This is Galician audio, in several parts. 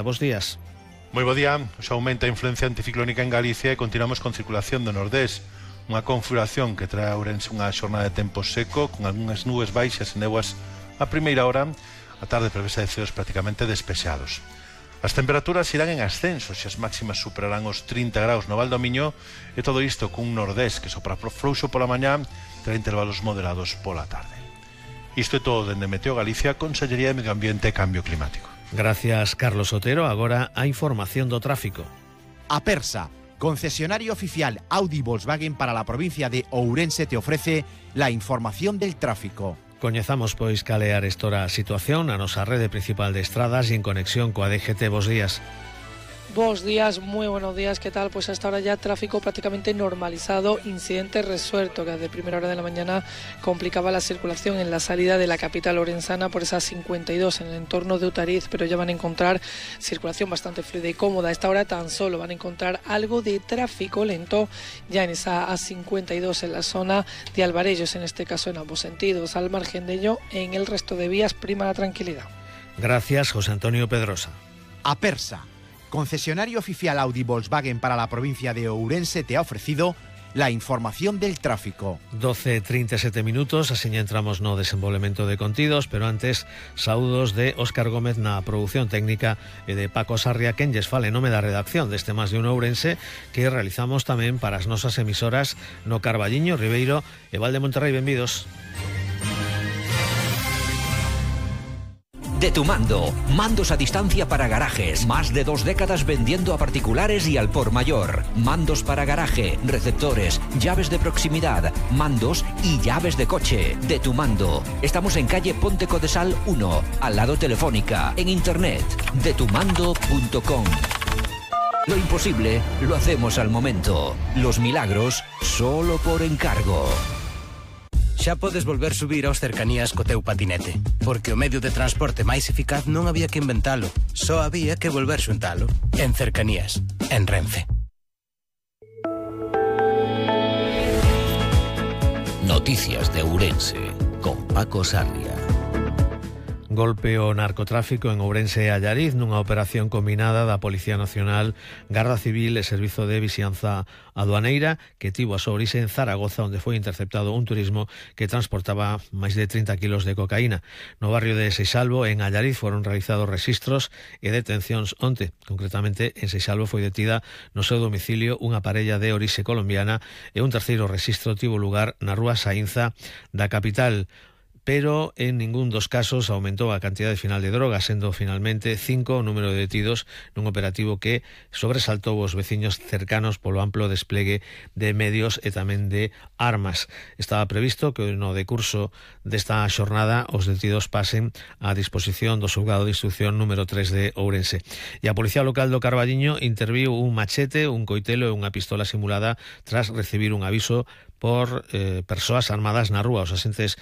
Bos días. Moi bo día. Xa aumenta a influencia anticiclónica en Galicia e continuamos con circulación do nordés. Unha configuración que trae a Ourense unha xornada de tempo seco con algunhas nubes baixas e néboas a primeira hora. A tarde prevese de ceos prácticamente despexados. As temperaturas irán en ascenso, xa as máximas superarán os 30 graus no Val do Miño, e todo isto cun nordés que sopra frouxo pola mañá, terá intervalos moderados pola tarde. Isto é todo dende Meteo Galicia, Consellería de Medio Ambiente e Cambio Climático. Gracias, Carlos Otero. Agora a información do tráfico. Apersa, concesionario oficial Audi Volkswagen para la provincia de Ourense, te ofrece la información del tráfico. Coñezamos, pois, cal é a arestora situación na nosa rede principal de estradas e en conexión coa DGT. Bos días. Buenos días, muy buenos días, ¿qué tal? Pues hasta ahora ya tráfico prácticamente normalizado, incidente resuelto que desde primera hora de la mañana complicaba la circulación en la salida de la capital orensana por esa 52 en el entorno de Utariz, pero ya van a encontrar circulación bastante fluida y cómoda. A esta hora tan solo van a encontrar algo de tráfico lento ya en esa A52 en la zona de Alvarellos, en este caso en ambos sentidos. Al margen de ello, en el resto de vías prima la tranquilidad. Gracias, José Antonio Pedrosa. Apersa, concesionario oficial Audi Volkswagen para la provincia de Ourense, te ha ofrecido la información del tráfico. 12:37 minutos, así entramos no desenvolvemento de contidos, pero antes, saúdos de Óscar Gómez na produción técnica e de Paco Sarria, quen lles fale nome da redacción deste Más de un Ourense, que realizamos tamén para as nosas emisoras no Carballiño, Ribeiro e Val de Monterrey. Benvidos. De Tu Mando, mandos a distancia para garajes, más de 2 décadas vendiendo a particulares y al por mayor. Mandos para garaje, receptores, llaves de proximidad, mandos y llaves de coche. De Tu Mando. Estamos en calle Ponte Codesal 1, al lado Telefónica, en internet, detumando.com. Lo imposible lo hacemos al momento. Los milagros solo por encargo. Xa podes volver subir aos cercanías co teu patinete, porque o medio de transporte máis eficaz non había que inventalo, só había que volver xuntalo. En Cercanías, en Renfe. Noticias de Ourense, con Paco Sarria. Golpe ao narcotráfico en Ourense e Allariz nunha operación combinada da Policía Nacional, Garda Civil e Servizo de Vixianza Aduaneira, que tivo a súa orixe en Zaragoza, onde foi interceptado un turismo que transportaba máis de 30 kilos de cocaína. No barrio de Seixalbo, en Allariz, foron realizados registros e detencións onte. Concretamente, en Seixalbo foi detida no seu domicilio unha parella de orixe colombiana e un terceiro registro tivo lugar na rúa Saínza da capital. Pero en ningún dos casos aumentou a cantidade final de drogas, sendo finalmente 5 o número de detidos nun operativo que sobresaltou os veciños cercanos polo amplo desplegue de medios e tamén de armas. Estaba previsto que no decurso desta xornada os detidos pasen á disposición do xulgado de instrucción número 3 de Ourense. E a Policía Local do Carballiño interviu un machete, un coitelo e unha pistola simulada tras recibir un aviso por persoas armadas na rúa. Os asentes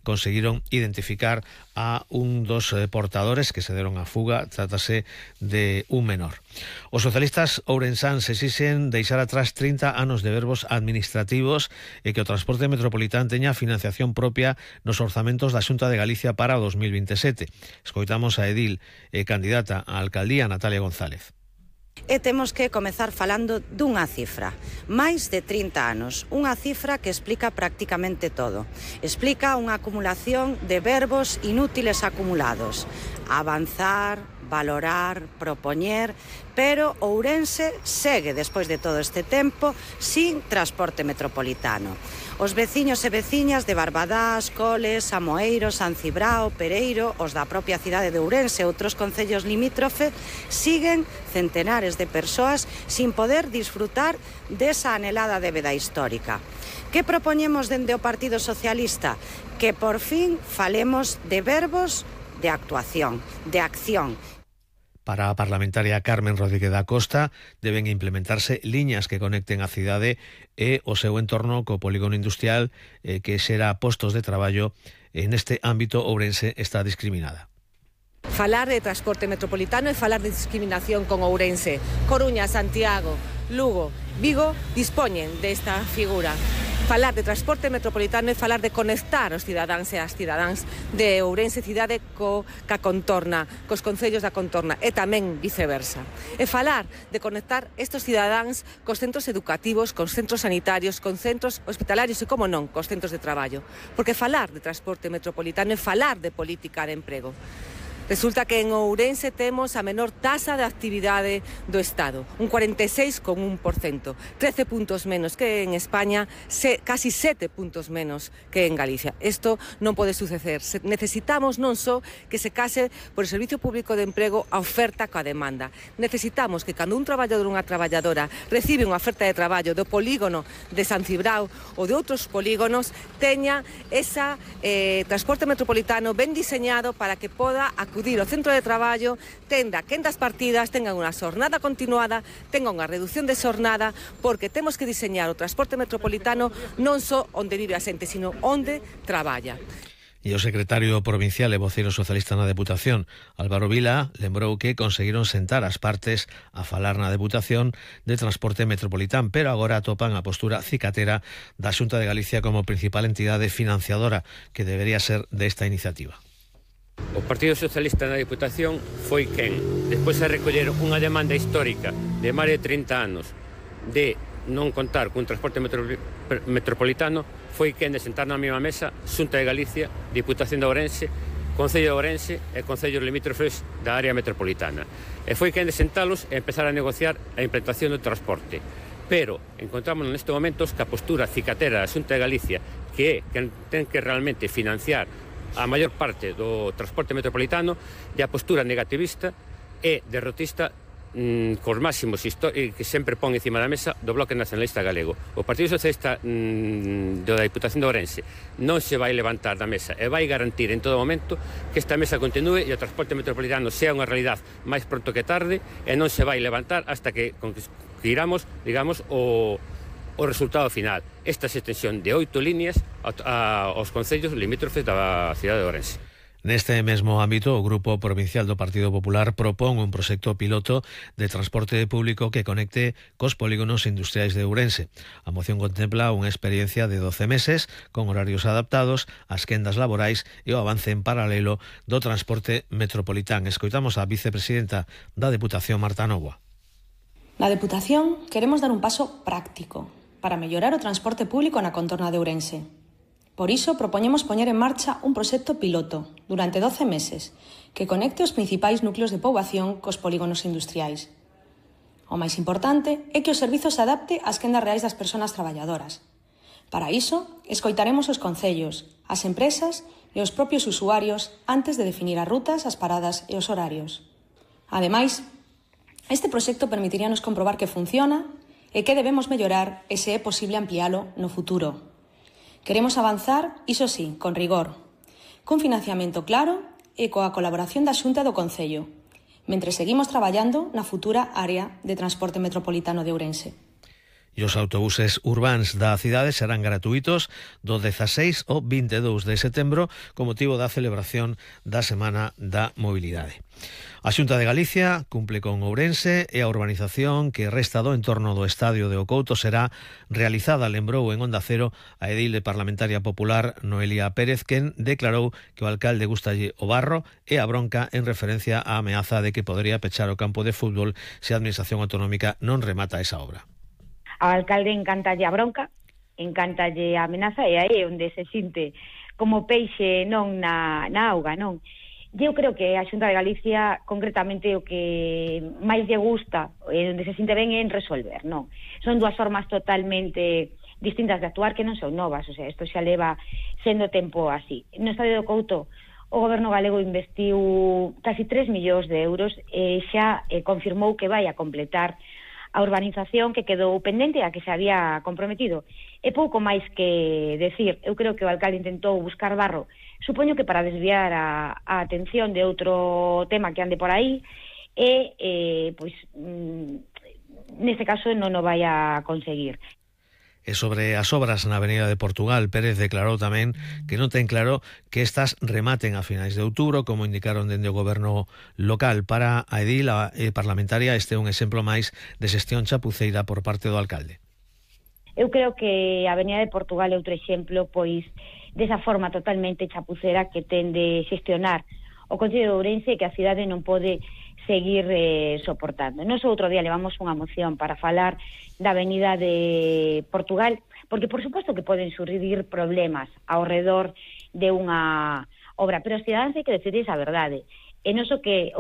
conseguiron identificar a un dos portadores que se deron a fuga. Trátase de un menor. Os socialistas ourensáns exixen deixar atrás 30 anos de verbos administrativos e que o transporte metropolitán teña financiación propia nos orzamentos da Xunta de Galicia para o 2027. Escoitamos a edil e candidata á alcaldía Natalia González. E temos que comezar falando dunha cifra, máis de 30 anos, unha cifra que explica prácticamente todo. Explica unha acumulación de verbos inútiles acumulados, avanzar, valorar, propoñer, pero Ourense segue, despois de todo este tempo, sin transporte metropolitano. Os veciños e veciñas de Barbadás, Coles, Amoeiro, San Cibrao, Pereiro, os da propia cidade de Ourense e outros concellos limítrofe, siguen centenares de persoas sin poder disfrutar desa anhelada débeda histórica. Que propoñemos dende o Partido Socialista? Que por fin falemos de verbos de actuación, de acción. Para a parlamentaria Carmen Rodríguez da Costa, deben implementarse liñas que conecten a cidade e o seu entorno co polígono industrial que xera postos de traballo. En este ámbito, Ourense está discriminada. Falar de transporte metropolitano e falar de discriminación con Ourense. Coruña, Santiago, Lugo, Vigo dispoñen desta figura. Falar de transporte metropolitano é falar de conectar os cidadáns e as cidadáns de Ourense cidade ca contorna, cos concellos da contorna e tamén viceversa. E falar de conectar estes cidadáns cos centros educativos, cos centros sanitarios, con centros hospitalarios e, como non, cos centros de traballo. Porque falar de transporte metropolitano é falar de política de emprego. Resulta que en Ourense temos a menor tasa de actividade do Estado, un 46,1%, 13 puntos menos que en España, casi 7 puntos menos que en Galicia. Isto non pode suceder. Necesitamos non só que se case por o Servicio Público de Emprego a oferta coa demanda. Necesitamos que cando un traballador ou unha traballadora recibe unha oferta de traballo do polígono de San Cibrao ou de outros polígonos, teña esa transporte metropolitano ben diseñado para que poda acudir ao centro de traballo, tenga quendas partidas, tenga unha xornada continuada, tenga unha reducción de xornada, porque temos que diseñar o transporte metropolitano non só onde vive a xente, sino onde traballa. E o secretario provincial e voceiro socialista na Deputación, Álvaro Vila, lembrou que conseguiron sentar as partes a falar na Deputación de transporte metropolitán, pero agora atopan a postura cicatera da Xunta de Galicia como principal entidade financiadora que debería ser desta iniciativa. O Partido Socialista na Diputación foi quen, despois de recoller unha demanda histórica de máis de 30 anos de non contar cun transporte metropolitano, foi quen de sentar na mesma mesa Xunta de Galicia, Diputación de Ourense, Concello de Ourense e Concellos limítrofes da área metropolitana. E foi quen de sentalos e empezar a negociar a implantación do transporte. Pero encontramos neste momento que a postura cicatera da Xunta de Galicia, que é quen ten que realmente financiar a maior parte do transporte metropolitano, e a postura negativista e derrotista cos máximos que sempre pon encima da mesa do Bloque Nacionalista Galego. O Partido Socialista da Diputación de Ourense non se vai levantar da mesa e vai garantir en todo momento que esta mesa continúe e o transporte metropolitano sea unha realidad máis pronto que tarde, e non se vai levantar hasta que conseguiramos, digamos, o resultado final. Esta extensión de 8 líneas aos concellos limítrofes da cidade de Ourense. Neste mesmo ámbito, o Grupo Provincial do Partido Popular propón un proxecto piloto de transporte público que conecte cos polígonos industriais de Ourense. A moción contempla unha experiencia de 12 meses con horarios adaptados ás quendas laborais e o avance en paralelo do transporte metropolitán. Escoitamos a vicepresidenta da Deputación, Marta Novoa. Na Deputación queremos dar un paso práctico para mellorar o transporte público na contorna de Ourense. Por iso, propoñemos poñer en marcha un proxecto piloto durante 12 meses que conecte os principais núcleos de poboación cos polígonos industriais. O máis importante é que o servizo se adapte ás quendas reais das persoas traballadoras. Para iso, escoitaremos os concellos, as empresas e os propios usuarios antes de definir as rutas, as paradas e os horarios. Ademais, este proxecto permitiríanos comprobar que funciona e que debemos mellorar e se é posible ampliálo no futuro. Queremos avanzar, iso sí, con rigor, cun financiamento claro e coa colaboración da Xunta do Concello, mentre seguimos traballando na futura área de transporte metropolitano de Ourense. E os autobuses urbáns da cidade serán gratuitos do 16 ao 22 de setembro con motivo da celebración da Semana da Mobilidade. A Xunta de Galicia cumple con Ourense e a urbanización que resta do entorno do estadio de Ocouto será realizada, lembrou en Onda Cero a edil parlamentaria popular Noelia Pérez, quen declarou que o alcalde gustalle o barro e a bronca en referencia á ameaza de que podería pechar o campo de fútbol se a administración autonómica non remata esa obra. Ao alcalde encantalle a bronca, encantalle a amenaza, e aí é onde se sinte como peixe non na auga, non? Eu creo que a Xunta de Galicia, concretamente, o que máis lle gusta e onde se sinte ben é en resolver, non? Son dúas formas totalmente distintas de actuar que non son novas, o sea, isto xa leva sendo tempo así. No estadio do Couto, o goberno galego investiu casi 3 millóns de euros e xa confirmou que vai a completar a urbanización que quedou pendente a que se había comprometido. É pouco máis que decir. Eu creo que o alcalde intentou buscar barro, supoño que para desviar a atención de outro tema que ande por aí, e pois neste caso non o vai a conseguir. E sobre as obras na Avenida de Portugal, Pérez declarou tamén que non ten claro que estas rematen a finais de outubro, como indicaron dende o goberno local. Para a edil parlamentaria, este é un exemplo máis de xestión chapuceira por parte do alcalde. Eu creo que a Avenida de Portugal é outro exemplo, pois, desa forma totalmente chapucera que ten de xestionar o Concello de Ourense, que a cidade non pode seguir soportando. Nos outro día levamos unha moción para falar da Avenida de Portugal, porque por suposto que poden surgir problemas ao redor de unha obra, pero os cidadáns hai que decidir a verdade. E nos o que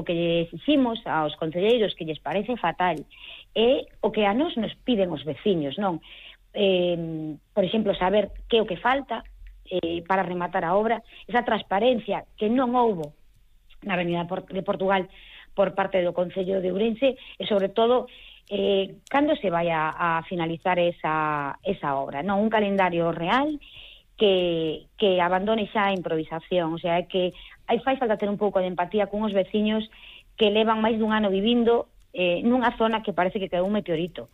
exiximos aos concelleiros que lles parece fatal é o que a nos piden os veciños, non? Por exemplo, saber que é o que falta para rematar a obra, esa transparencia que non houbo na Avenida de Portugal por parte do Concello de Ourense e, sobre todo, cando se vai a finalizar esa obra, non? Un calendario real que abandone xa a improvisación, o sea, que fai falta ter un pouco de empatía con os veciños que levan máis dun ano vivindo nunha zona que parece que quedou un meteorito.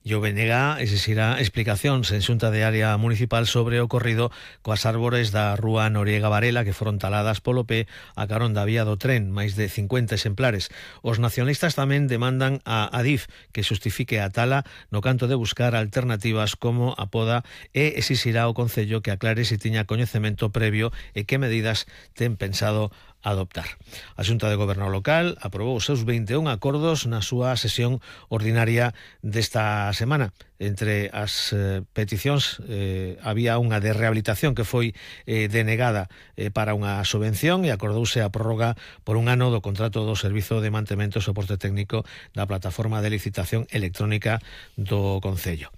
E o BNG exixirá explicacións en Xunta de Área Municipal sobre o ocorrido coas árbores da Rúa Noriega Varela que foron taladas polo pé a carón da vía do tren, máis de 50 exemplares. Os nacionalistas tamén demandan a Adif que xustifique a tala no canto de buscar alternativas como a poda e exixirá ao Concello que aclare se tiña coñecemento previo e que medidas ten pensado adoptar. A Xunta de Goberno Local aprobou os seus 21 acordos na súa sesión ordinaria desta semana. Entre as peticións había unha de rehabilitación que foi denegada para unha subvención e acordouse a prórroga por un ano do contrato do Servizo de Mantemento e Soporte Técnico da plataforma de licitación electrónica do Concello.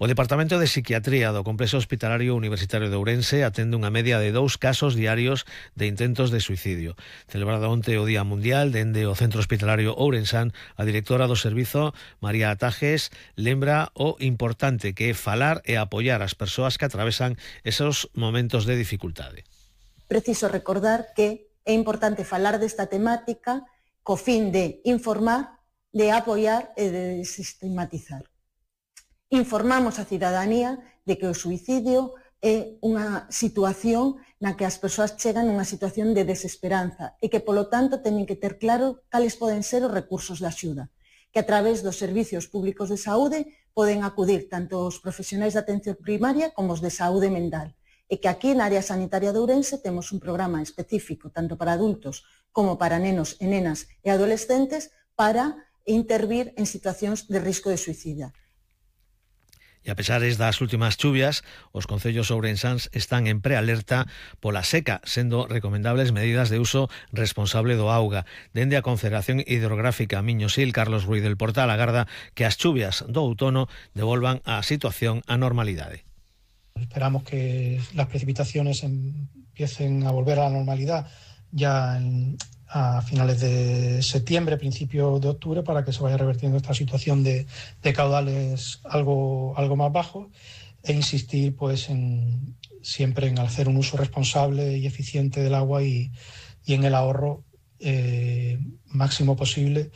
O Departamento de Psiquiatría do Complexo Hospitalario Universitario de Ourense atende unha media de 2 casos diarios de intentos de suicidio. Celebrado onte o Día Mundial dende o Centro Hospitalario Ourensán, a directora do servizo, María Atajes, lembra o importante que é falar e apoiar as persoas que atravesan esos momentos de dificultade. Preciso recordar que é importante falar desta temática co fin de informar, de apoiar e de desestigmatizar. Informamos a cidadanía de que o suicidio é unha situación na que as persoas chegan nunha situación de desesperanza e que, polo tanto, teñen que ter claro cales poden ser os recursos de axuda, que a través dos servicios públicos de saúde poden acudir tanto os profesionais de atención primaria como os de saúde mental, e que aquí na área sanitaria de Ourense temos un programa específico tanto para adultos como para nenos e nenas e adolescentes para intervir en situacións de risco de suicida. E a pesares das últimas chuvias, os concellos ourensáns están en prealerta pola seca, sendo recomendables medidas de uso responsable do auga. Dende a Confederación Hidrográfica Miño-Sil, Carlos Ruiz del Portal agarda que as chuvias do outono devolvan a situación á normalidade. Esperamos que las precipitaciones empiecen a volver a la normalidad ya a finales de septiembre, principio de octubre, para que se vaya revertiendo esta situación de caudales algo más bajos e insistir pues siempre en hacer un uso responsable y eficiente del agua y en el ahorro máximo posible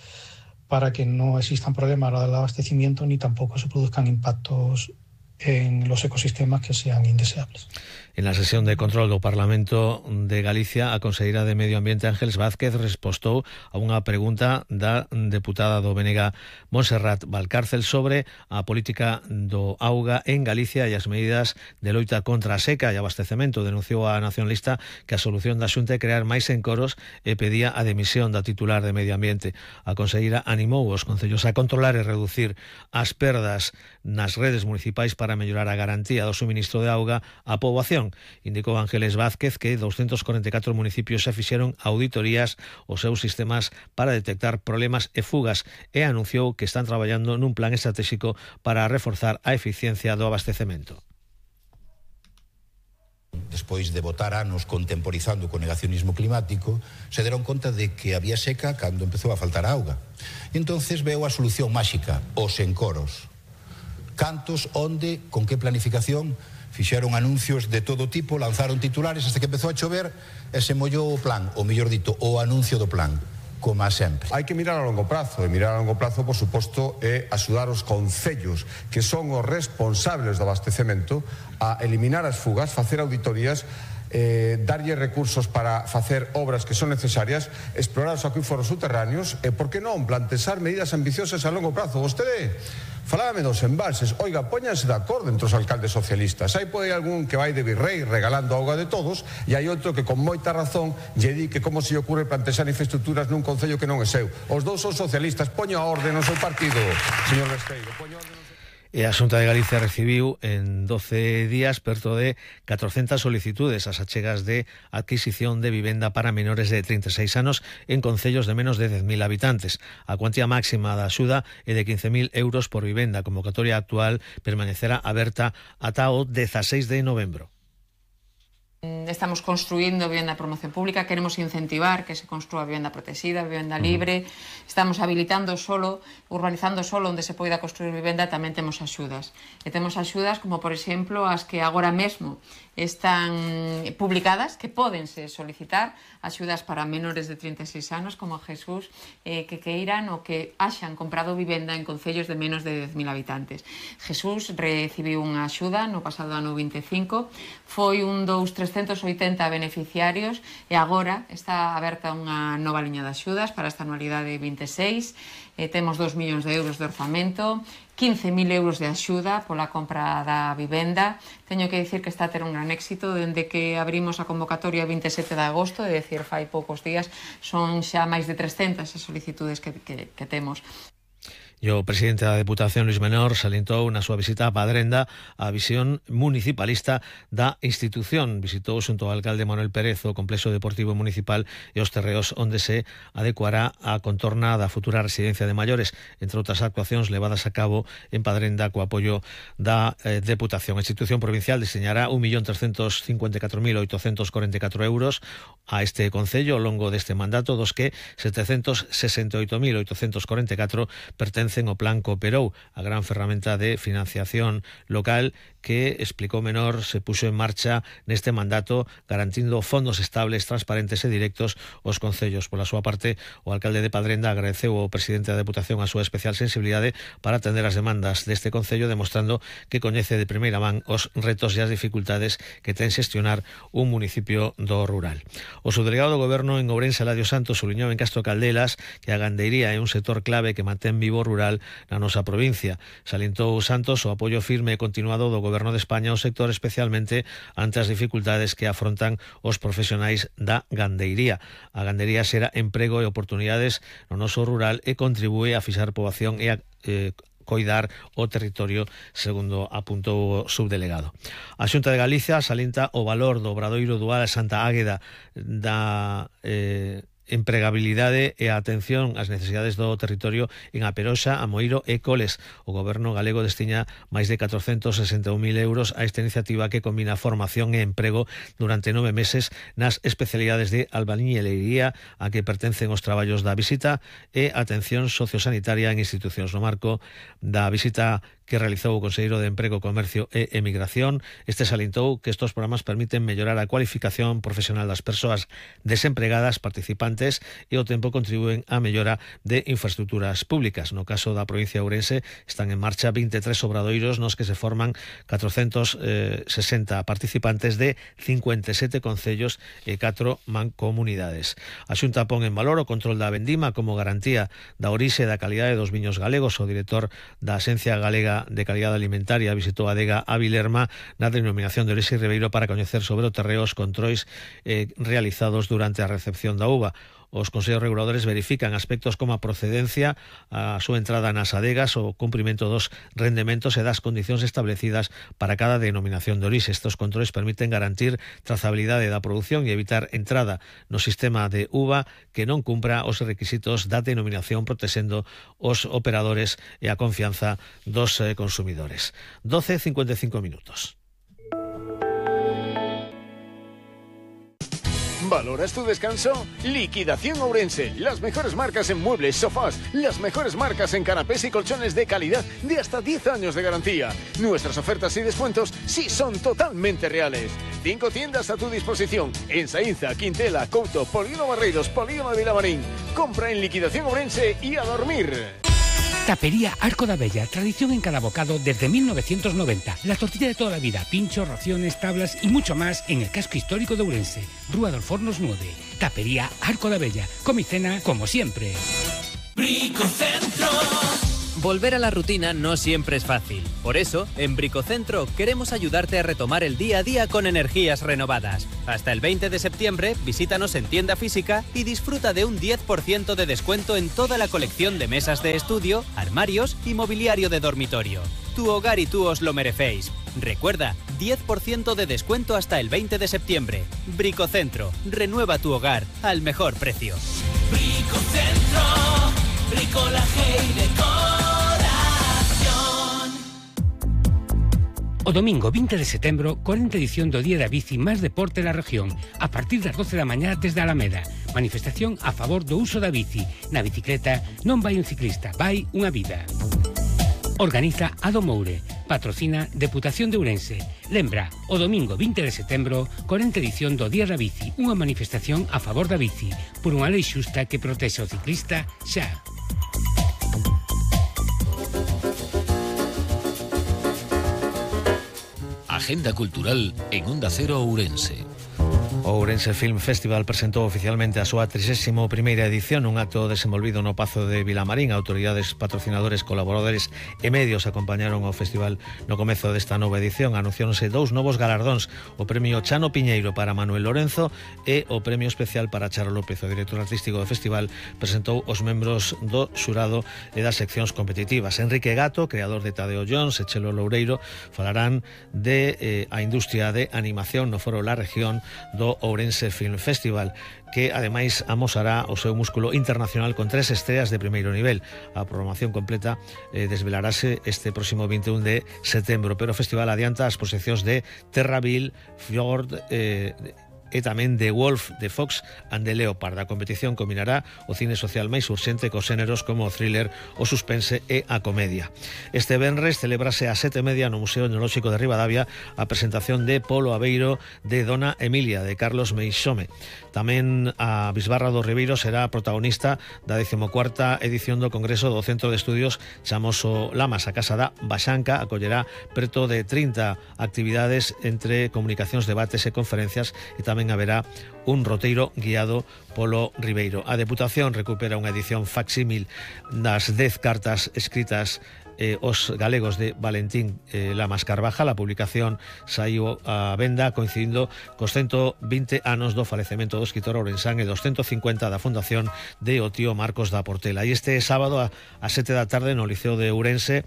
para que no existan problemas al abastecimiento ni tampoco se produzcan impactos en los ecosistemas que sean indeseables. En la sesión de control do Parlamento de Galicia, a conselleira de Medio Ambiente Ángeles Vázquez respostou a unha pregunta da deputada do BNG Montserrat Valcárcel sobre a política do auga en Galicia e as medidas de loita contra a seca e abastecemento. Denunciou a nacionalista que a solución da Xunta é crear máis encoros e pedía a demisión da titular de Medio Ambiente. A conselleira animou os concellos a controlar e reducir as perdas nas redes municipais para mellorar a garantía do suministro de auga á poboación. Indicou Ángeles Vázquez que 244 municipios xa fixeron auditorías aos seus sistemas para detectar problemas e fugas e anunciou que están traballando nun plan estratégico para reforzar a eficiencia do abastecemento. Despois de botar anos contemporizando co negacionismo climático, se deron conta de que había seca cando empezou a faltar auga. E entonces veo a solución máxica, os encoros. Cantos, onde, con que planificación, fixeron anuncios de todo tipo, lanzaron titulares hasta que empezou a chover e se mollou o plan, ou mellor dito, o anuncio do plan, como a sempre. Hai que mirar a longo prazo, e mirar a longo prazo, por suposto, é axudar os concellos, que son os responsables do abastecemento, a eliminar as fugas, facer auditorías, darlle recursos para facer obras que son necesarias, explorar os acuíferos subterráneos e, por que non, plantexar medidas ambiciosas a longo prazo. Vostede Falábame dos embalses. Oiga, póñanse de acordo entre os alcaldes socialistas. Hai pode algún que vai de virrei regalando auga de todos e hai outro que con moita razón lle di que como se lle ocurre plantexar infraestructuras nun concello que non é seu. Os dous son socialistas. Poño a orde no seu partido, señor Besteiro. Poño a orde. E a Xunta de Galicia recibiu en 12 días perto de 400 solicitudes ás achegas de adquisición de vivenda para menores de 36 anos en concellos de menos de 10.000 habitantes. A cuantía máxima da axuda é de 15.000 euros por vivenda. A convocatoria actual permanecerá aberta ata o 16 de novembro. Estamos construindo vivenda de promoción pública, queremos incentivar que se construa vivenda protegida, vivenda libre, estamos habilitando solo, urbanizando solo onde se poida construir vivenda, tamén temos axudas. E temos axudas como, por exemplo, as que agora mesmo están publicadas, que pódense solicitar, axudas para menores de 36 anos, como Jesús, que queiran ou que haxan comprado vivenda en concellos de menos de 10.000 habitantes. Jesús recibiu unha axuda no pasado ano 25, foi un dos 380 beneficiarios e agora está aberta unha nova liña de axudas para esta anualidade 26. Temos 2 millóns de euros de orzamento, 15.000 euros de axuda pola compra da vivenda. Teño que dicir que está a ter un gran éxito dende que abrimos a convocatoria 27 de agosto, é dicir, fai poucos días, son xa máis de 300 as solicitudes que temos. E o presidente da Deputación, Luís Menor, salientou na súa visita a Padrenda a visión municipalista da institución. Visitou xunto ao alcalde Manuel Pérez o complexo deportivo municipal e os terreos onde se adecuará a contorna da futura residencia de maiores, entre outras actuacións levadas a cabo en Padrenda co apoio da Deputación. A institución provincial diseñará 1.354.844 euros a este concello ao longo deste mandato, dos que 768.844 pertencen o Plan Cooperou, a gran ferramenta de financiación local que, explicou Menor, se puxo en marcha neste mandato garantindo fondos estables, transparentes e directos aos concellos. Pola súa parte, o alcalde de Padrenda agradeceu ao presidente da Deputación a súa especial sensibilidade para atender as demandas deste concello, demostrando que coñece de primeira man os retos e as dificultades que ten xestionar un municipio do rural. O subdelegado do Goberno en Ourense, Eladio Santos, subliñou en Castro Caldelas que a gandeiría é un sector clave que mantén vivo o rural na nosa provincia. Salientou Santos o apoio firme e continuado do Goberno de España ao sector, especialmente ante as dificultades que afrontan os profesionais da gandeiría. A gandeiría xera emprego e oportunidades no noso rural e contribúe a fixar poboación e a coidar o territorio, segundo apuntou o subdelegado. A Xunta de Galicia salienta o valor do Obradoiro Dual Santa Águeda da empregabilidade e a atención ás necesidades do territorio en A Peroxa, Amoeiro e Coles. O Goberno galego destiña máis de 461.000 euros a esta iniciativa que combina formación e emprego durante 9 meses nas especialidades de albañilería a que pertencen os traballos da visita e atención sociosanitaria en institucións. No marco da visita que realizou o Conselleiro de Emprego, Comercio e Emigración, este salientou que estes programas permiten mellorar a cualificación profesional das persoas desempregadas participantes e ao tempo contribúen á mellora de infraestructuras públicas. No caso da provincia de Ourense están en marcha 23 obradoiros nos que se forman 460 participantes de 57 concellos e 4 mancomunidades. A Xunta pon en valor o control da vendima como garantía da orixe e da calidade dos viños galegos. O director da Axencia Galega de Calidade Alimentaria visitou a adega Avilerma na denominación de Orixe Ribeiro para coñecer sobre o terreo os controis realizados durante a recepción da uva. Os consellos reguladores verifican aspectos como a procedencia, a súa entrada nas adegas, o cumprimento dos rendementos e das condicións establecidas para cada denominación de orixe. Estos controles permiten garantir trazabilidade da produción e evitar entrada no sistema de uva que non cumpra os requisitos da denominación, protexendo os operadores e a confianza dos consumidores. 12:55 minutos. ¿Valoras tu descanso? Liquidación Ourense. Las mejores marcas en muebles, sofás, las mejores marcas en canapés y colchones de calidad de hasta 10 años de garantía. Nuestras ofertas y descuentos sí son totalmente reales. 5 tiendas a tu disposición en Saínza, Quintela, Couto, Polígono Barreiros, Polígono de Vilamarín. Compra en Liquidación Ourense y a dormir. Tapería Arco da Bella, tradición en cada bocado desde 1990. La tortilla de toda la vida, pinchos, raciones, tablas y mucho más en el casco histórico de Ourense. Rúa dos Fornos 9. Tapería Arco da Bella. Come y cena como siempre. Bricocentro. Volver a la rutina no siempre es fácil. Por eso, en Bricocentro queremos ayudarte a retomar el día a día con energías renovadas. Hasta el 20 de septiembre, visítanos en tienda física y disfruta de un 10% de descuento en toda la colección de mesas de estudio, armarios y mobiliario de dormitorio. Tu hogar y tú os lo merecéis. Recuerda, 10% de descuento hasta el 20 de septiembre. Bricocentro, renueva tu hogar al mejor precio. Bricocentro, bricolaje y decoración. O domingo 20 de setembro, 40 edición do Día da Bici máis deporte da región, a partir das 12 da mañá desde Alameda. Manifestación a favor do uso da bici. Na bicicleta non vai un ciclista, vai unha vida. Organiza Ado Moure, patrocina Deputación de Ourense. Lembra, o domingo 20 de setembro, 40 edición do Día da Bici, unha manifestación a favor da bici, por unha lei xusta que protexe o ciclista xa. Agenda cultural en Onda Cero Ourense. O Ourense Film Festival presentou oficialmente a súa 31ª edición, un acto desenvolvido no Pazo de Vilamarín. Autoridades, patrocinadores, colaboradores e medios acompañaron ao festival no comezo desta nova edición. Anunciáronse 2 novos galardóns, o premio Chano Piñeiro para Manuel Lorenzo e o premio especial para Charo López. O director artístico do festival presentou os membros do xurado e das seccións competitivas. Enrique Gato, creador de Tadeo Jones e Chelo Loureiro, falarán de a industria de animación no foro La Región do Ourense Film Festival, que ademais amosará o seu músculo internacional con 3 estreas de primeiro nivel. A programación completa desvelarase este próximo 21 de setembro, pero o festival adianta as proxeccións de Terraville, Fjord e tamén The Wolf, The Fox and the Leopard. A competición combinará o cine social máis urxente cos xéneros como o thriller, o suspense e a comedia. Este venres celebrase a 7:30 no Museo Etnolóxico de Ribadavia a presentación de Polo Aveiro de Dona Emilia, de Carlos Meixome. Tamén a Bisbarra do Ribeiro será protagonista da 14ª edición do Congreso do Centro de Estudios Chamoso Lamas. A Casa da Baxanca acollerá preto de 30 actividades entre comunicacións, debates e conferencias, e tamén haberá un roteiro guiado polo Ribeiro. A Deputación recupera unha edición facsímil das 10 cartas escritas os galegos de Valentín Lamas Carvajal. A publicación saiu a venda coincidindo cos 120 anos do falecemento do escritor ourensán e dos 150 da fundación de o tío Marcos da Portela. E este sábado a 7 da tarde no Liceo de Ourense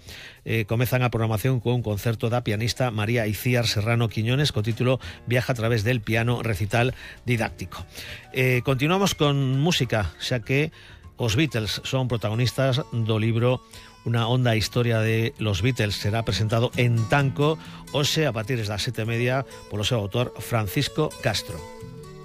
comezan a programación con un concerto da pianista María Icíar Serrano Quiñones co título Viaja a través del piano, recital didáctico. Continuamos con música, xa que os Beatles son protagonistas do libro Una honda historia de los Beatles. Será presentado en Tanco hoxe a partir das 7:30 polo seu autor Francisco Castro.